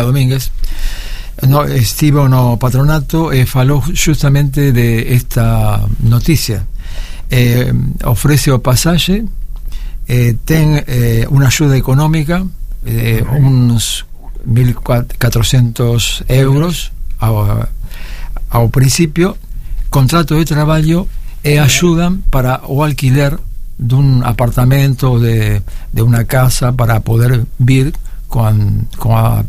Domínguez estivo no patronato e falou justamente de esta noticia. Ofrece o pasaxe, ten unha axuda económica, uns 1.400 euros ao principio, contrato de traballo e axudan para o alquiler dun apartamento, de unha casa, para poder vir con a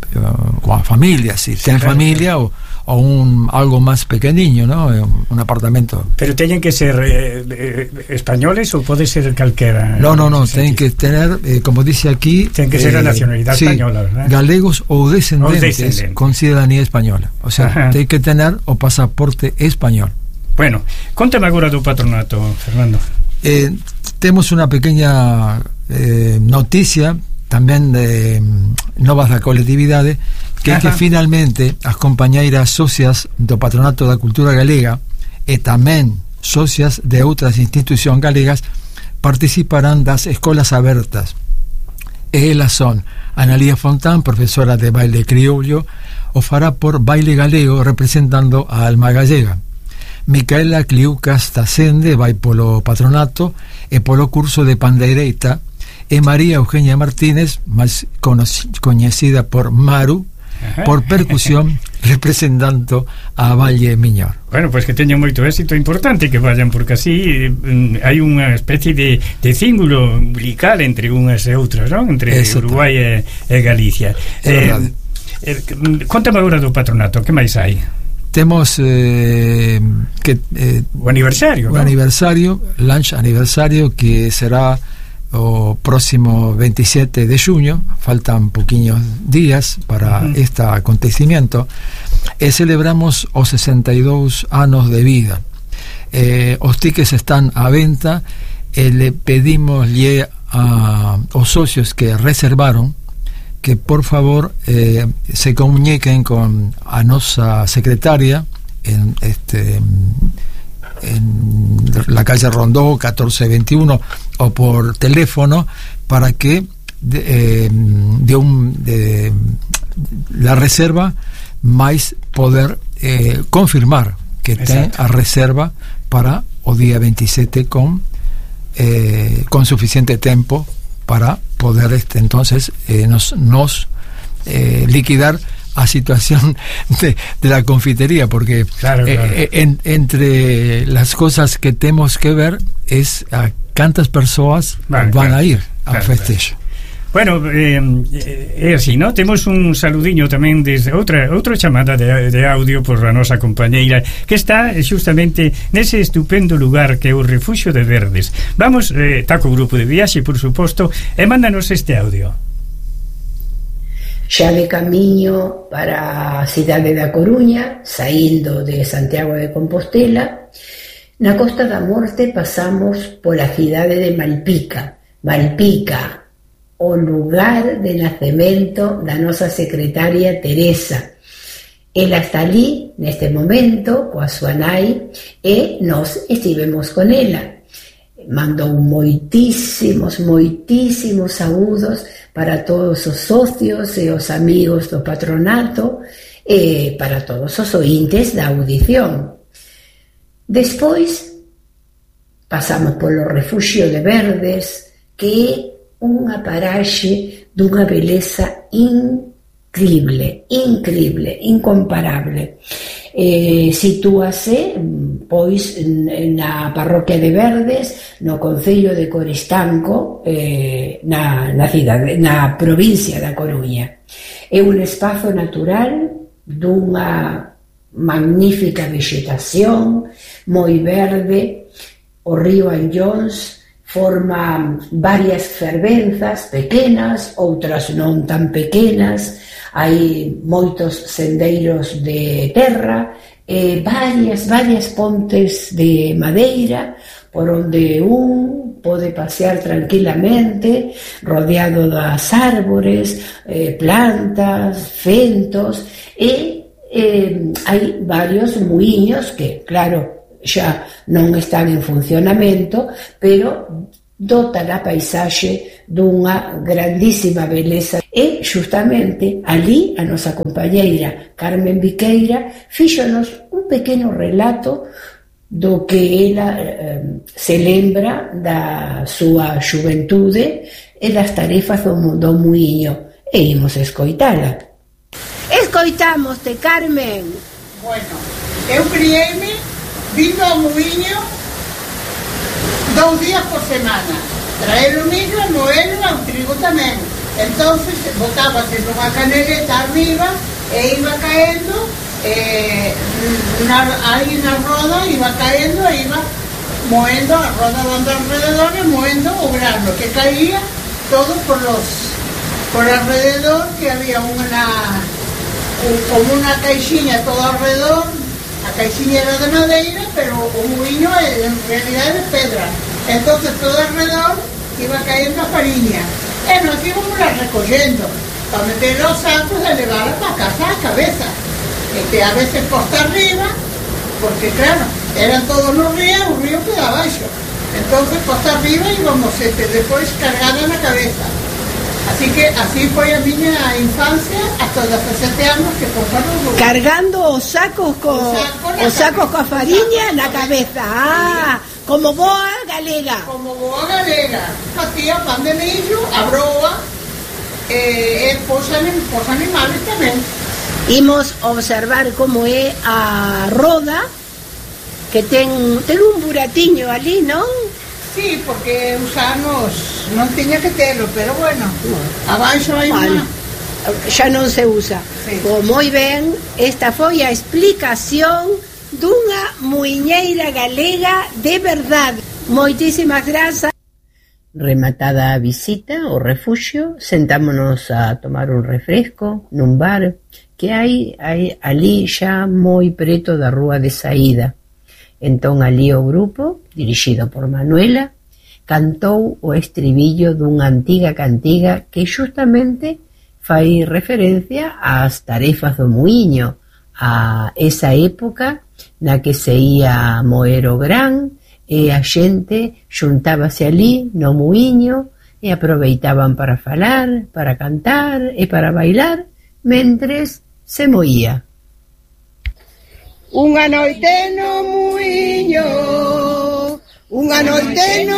familia, si ten familia o algo más pequeniño, ¿no? Un apartamento. Pero teñen que ser españoles ou pode ser calquera? No, ten que tener, como dice aquí, ten que ser a nacionalidade española, ¿verdad? Galegos ou descendentes con ciudadanía española. O sea, ten que tener o pasaporte español. Bueno, contame agora do patronato, Fernando. Temos unha pequeña noticia tamén de novas da colectividade, que é que finalmente as compañeiras socias do Patronato da Cultura Galega e tamén socias de outras institucións galegas participarán das escolas abertas, e elas son Analía Fontán, profesora de baile criollo, o fará por Baile Galego representando a alma gallega. Micaela Cliucas Tacende vai polo patronato e polo curso de pandeireita, e María Eugenia Martínez, máis coñecida por Maru, por percusión, representando a Valle Miñor. Bueno, pois que teñen moito éxito, importante que vayan, porque así hai unha especie de cíngulo umbilical entre unhas e outras, non? Entre Uruguai e Galicia. Contame agora do patronato, que máis hai? Temos o aniversario, o aniversario, lunch aniversario, que será o próximo 27 de xuño. Faltan poquinhos días para este acontecimiento, e celebramos os 62 anos de vida. Os tickets están á venta, e le pedimos aos socios que reservaron que por favor se comuniquen con a nosa secretaria en la calle Rondó 1421 o por teléfono, para que la reserva máis poder confirmar que ten a reserva para o día 27 con suficiente tempo para poder entonces nos liquidar a situación de la confitería, porque claro. Entre las cosas que tenemos que ver es a cantas persoas van a ir ao festejo. Bueno, é así, ¿no? Temos un saludiño tamén desde outra chamada de audio por a nosa compañeira, que está justamente nese estupendo lugar que é o Refuxio de Verdes. Vamos, está co grupo de viaxe, por suposto, e mándanos este audio. Xa de camiño para a cidade da Coruña, saindo de Santiago de Compostela, na Costa da Morte pasamos pola cidade de Malpica, o lugar de nacemento da nosa secretaria Teresa. Ela está ali neste momento coa súa nai, e nós estivemos con ela. Mandou moitísimos saúdos para todos os socios e os amigos do patronato, e para todos os ointes da audición. Despois pasamos polo Refuxio de Verdes, que é unha paraxe dunha beleza increíble, incomparable. Sitúase pois na parroquia de Verdes, no concello de Coristanco, na provincia da Coruña. É un espazo natural dunha magnífica vegetación, moi verde. O río Anllóns forma varias fervenzas pequenas, outras non tan pequenas. Hai moitos sendeiros de terra e varias pontes de madeira por onde un pode pasear tranquilamente, rodeado das árbores, plantas, fentos, e hai varios muiños que, claro, xa non están en funcionamento, pero dota a paisaxe dunha grandísima beleza. E justamente ali a nosa compañeira Carmen Viqueira fíxonos un pequeno relato do que ela se lembra da súa xuventude e das tarefas do muiño. E imos escoitala. Escoitámoste, Carmen. Bueno, eu criei-me vindo ao muiño 2 días por semana. Traer o millo, moelo e o trigo tamén. Entonces botábase nunha caneleta arriba e iba caendo, aí na roda iba caendo e iba moendo, a roda dando alrededor e moendo o grano que caía todo por alrededor, que había como una caixinha todo alrededor. A caixinha era de madeira, pero o muiño en realidad é de pedra. Entonces todo alrededor iba cayendo a fariña. E nos íbamos recollendo para meter los sacos e levarla para casa a cabeza. A veces costa arriba, porque claro, eran todos los ríos, o río quedaba abaixo. Entonces costa arriba íbamos despois cargada na cabeza. Así que así foi a miña infancia hasta os 17 anos que foron cargando os sacos coa fariña na cabeza. Como boa galega. Como boa galega. Facía pan de millo, a broa e pos animales tamén. Imos observar como é a roda, que ten un buratiño ali, non? Sí, porque os anos non tiña que telo, pero bueno, abaixo hai unha... Xa non se usa. Sí. Moi ben, esta foi a explicación dunha muiñeira galega de verdade. Moitísimas grazas. Rematada a visita ao refuxio, sentámonos a tomar un refresco nun bar que hai ali xa moi preto da rúa de saída. Entón ali o grupo, dirixido por Manuela, cantou o estribillo dunha antiga cantiga que justamente fai referencia ás tarefas do muiño, a esa época na que se ia moer o gran e a xente xuntábase ali no muiño e aproveitaban para falar, para cantar e para bailar mentres se moía. Unha noite no muiño, unha noite no